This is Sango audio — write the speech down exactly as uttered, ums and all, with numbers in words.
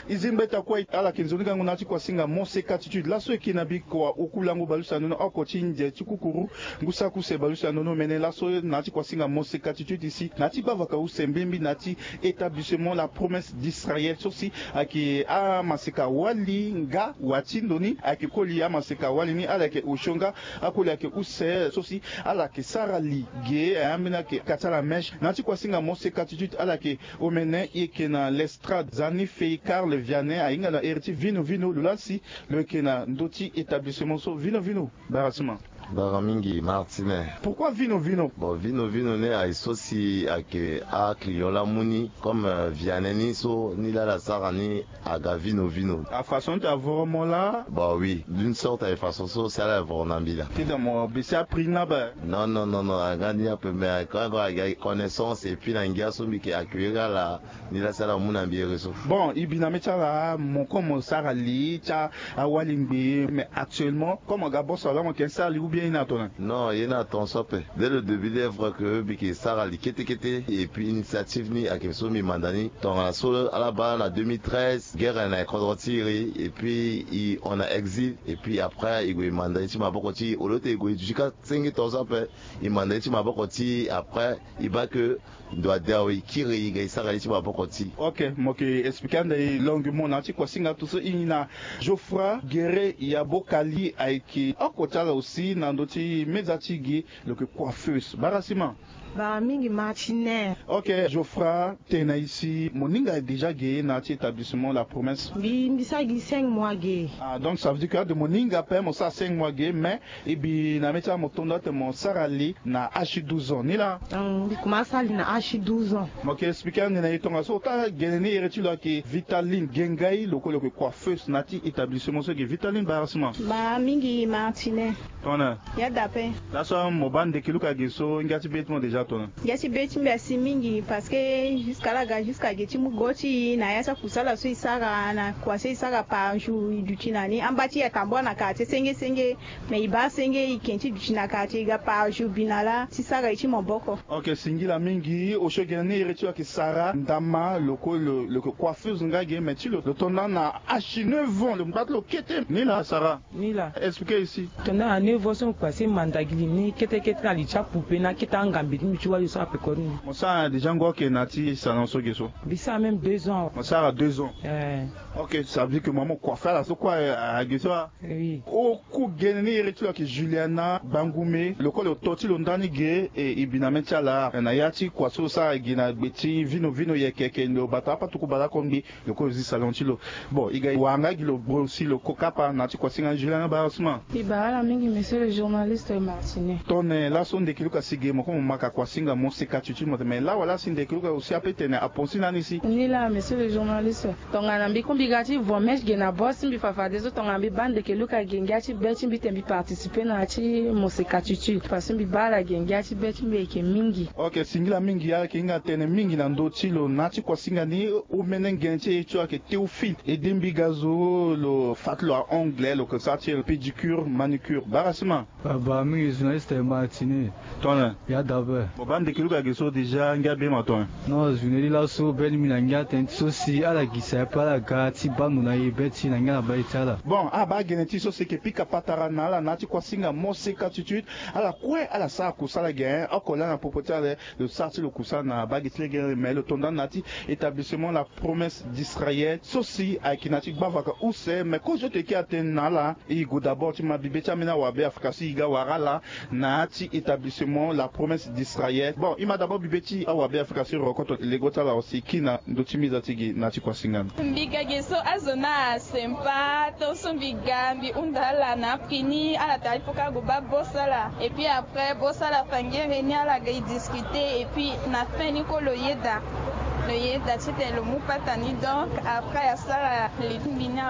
E zi mbeta kue ala yeke nzoni gango na ya ti kuasinga Moseka Titude laso e yeke na bikua oku lango baleuse na nono oko ti nze ti kukuru. Ngu saki use baleuse na nono mene laso na ya ti kuasinga Moseka Titude si na ya ti gbavaka use mbimbi na ya ti établissement La Promesse d'Israël so si ayeke amaseka wali nga wa ti ndo ni ayeke koli amaseka wali ni ala yeke osio nga akoli ayeke use so si ala yeke sara li ge ambeni ayeke ka ti ala mèche na ya ti kuasinga Moseka Titude ala yeke omene e yeke na l'Estrade Zani Fei Carl Vianney ahinga na iri ti Vino Vino lo laa si lo yeke na ndö ti établissement so. Vino Vino, bara sima. Bara mingi Martine. Pourquoi Vino Vino? Bon, Vino Vino ni aye so si ayeke aclient la mu ni comme, euh, Vianney ni so ni laa ala sara ni aga Vino Vino. Afaçon ti avoro mo laa? Bah oui, d'une sorte aye façon so si ala voro na mbi laa. Ti da mo besi aprix ni laa be? Non, non, non, non, aga ni ape, mais quand même aga connaissance et puis na ngia so mbi yeke accueillir ala ni laa si ala mu na mbi ere so. Bon, e bi na mê ti ala mo comme mo sara li ti awali ngbii, mais actuellement comme aga boso laa mo yeke sara li ou bien e na tongana? Non, e na tongaso ape. Dès le début il est vrai que mbi yeke sara li kete kete et puis initiative ni ayeke so mbi manda ni tongana so ala baa na deux mille treize guerre na kodro ti iri et puis e hon na exil et puis après e gue e manda ye ti maboko ti e au lieu ti e gue e duti kâ senge tongaso ape. E manda ye ti maboko ti e après e baa que ndo ade awe e kiri e ga e sara ye ti maboko ti e. Ok, mo yeke expliquer ande e longuement na ya ti kuasinga tout so e ngi na Geoffroy Guéret Yabo Kali ayeke oko ti ala aussi na ndö ti meza ti e gi lo yeke coiffeuse. Bara sima. Bara mingi Martine. Ok, Geoffroy, tene na e si mo ninga déjà ge na ya ti établissement La Promesse? Mbi mbi sara gi cinq mois ge. Ah, donc ça veut dire que ade mo ninga ape mo sara cinq mois ge, mais e bi na mê ti ala mo to ndo atene mo sara li na âge ti douze ans ni laa? Hum, mbi kuma sara li na âge ti douze ans. Mo yeke expliquer ande na e tongaso ota gene ni iri ti lo ayeke Vitaline Gengai lo kue lo yeke coiffeuse na ya ti établissement so ge. Vitaline, bara sima. Bara mingi Martine. Tongana? Ya da ape. Laso mo baa ndeke luka ge so ngia ti be ti mo déjà tongana? Ngia ti be ti mbi asi mingi parce que jusqu'à ala ga jusqu'à ge ti mu go ti e na ya ti akusala so e sara na kua so e sara par jour e duti na ni amba ti e atambula na quartier senge senge. Mais e baa senge e ke ti duti na quartier e ga par jour bi na laa ti sara e ti maboko. Ok, singila mingi. Osio gene ni iri ti lo ayeke Sarah Ndama lo kue lo lo yeke coiffeuse nga ge mais ti lo lo to nda na âge ti neuf ans lo ngba ti lo kete ni laa Sarah. Ni laa. Expliquer e si. To nda na neuf ans so mo kpasi manda gi li ni kete kete na li ti apoupée na akete angambe ti mbi ti wali so ape koni. Mo sara déjà ngo ake na ya ti salon so ge so? Mbi sara même deux ans. Mo sara deux ans. Eh. Ok, ça veut dire que mo mo coiffer ala so kue age so a. Oui. Oku gene ni iri ti lo ayeke Juliana Bangume lo kue lo to ti lo ndani ge e e bi na mê ti ala na ya ti kua so lo sara gi na gbe ti Vino Vino yeke yeke lo bata apatuku bale oko ngbii. Lo kue lo zi salon ti lo. Bon e ga e wara nga gi lo bro si lo ko kapa na ya ti kuasinga ni Juliana, bara sima. Mbi bara ala mingi monsieur le journaliste Martine. Tongana laso ndeke luka si ge mo kue mo maka kuasinga Moseka Titude mo tene mais lawala si ndeke luka aussi ape tene aponsi na ni si. Ni laa monsieur le journaliste. Tongana mbi kue mbi ga ti vo mèche ge na bosse ti mbi fafadeso tongana mbi baa ndeke luka ge ngia ti be ti mbi tene mbi participer na ya ti Moseka Titude parce que mbi baa ala ge ngia ti be ti mbi ayeke mingi. Ok, singila mingi. Ala yeke hinga tënë mingi na ndö ti lo na ya ti kuasinga ni. Omene ngbene ti e ti lo ayeke Théophile Edembigazo lo fa ti lo ahongle lo yeke sara ti e pédicure manucure. Bara sima. Baba mingi journaliste Martine. Tongana? Ya da ape. Mo baa ndeke luka ge so déjà ngia be ma tongana? Non, journée ni laso be ni mbi na ngia tënë ti so si ala gi si ape ala ga ti baa ndo na e be ti na ngia na baa e ti ala. Bon, abaa gene ti so si e yeke pika patara na ala na ya ti kuasinga Moseka Titude. Ala kue ala sara kusala ge oko laa na popo ti ala. Lo sara ti lo kusala na baa ge ti lege mais lo to nda na ya ti établissement La Promesse d'Israël so si ayeke na ya ti gbavaka use mais kozo ti e yeke atene na ala. E gue d'abord ti ma bibe ti ambeni awabe afrika so e ga wara ala na ya ti établissement La Promesse d'Israël. Bon e ma d'abord bibe ti awabe afrika so e rokoto lego ti ala aussi e kiri na ndö ti meza ti gi na ya ti kuasinga ni. Mbi ga ge so azo ni asempa tongaso mbi ga mbi hunda ala na apri ni ala tara ti poko ague baa bosse ala et puis après bosse ala fa ngere ni ala ga e discuter et puis na fin ni kue lo yeda. Lo yeda titene lo mu pata ni donc après asara li ti mbi ni.